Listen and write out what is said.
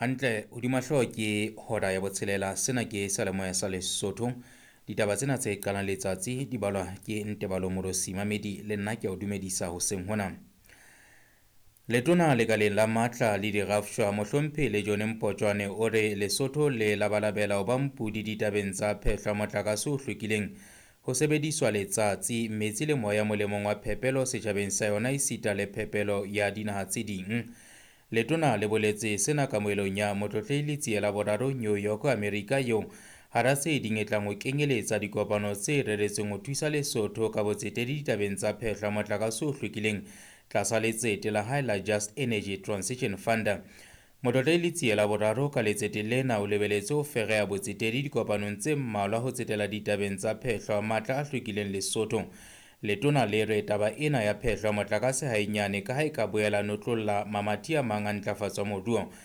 Hantle hodima hlooho ke hora ya botshelela. Sena ke seyalemoya sa Lesotho. Ditaba tsena tse qalang letsatsi di balwa ke Ntebalo Morosi Mamedi le nna ke a o dumedisa hoseng hona. Letona lekaleng la matla le dirafshwa mohlomphehi le John Mpotjwane o re Lesotho le labalabela ho ba mpudi ditabeng tsa phehlo ya motlakase o hlwekileng ho sebediswa letsatsi, metsi le moya molemong wa phepelo setjhabeng sa yona esita le phepelo ya dinaha tse ding. Letona le boletse sena kamohelong ya Motlotlehi Letsie la Boraro New York, Amerika eo hara tse ding e tlang ho kenyeletsa dikopano tse reretsweng ho thusa Lesotho ka botsetedi ditabeng tsa phehlo ya motlakase o hlwekileng tlasa letsete la hae la Just Energy Transition Fund. Motlotlehi Letsie la Boraro ka letsete lena o lebeletse ho fereha botsetedi dikopanong tse mmalwa ho tsetela ditabeng tsa phehlo ya matla a hlwekileng Lesotho. Letona le re taba ena ya phehlo ya motlakase ha e nyane ka ha e ka boela notlolla mamati a mang a ntlafatso ya moruo.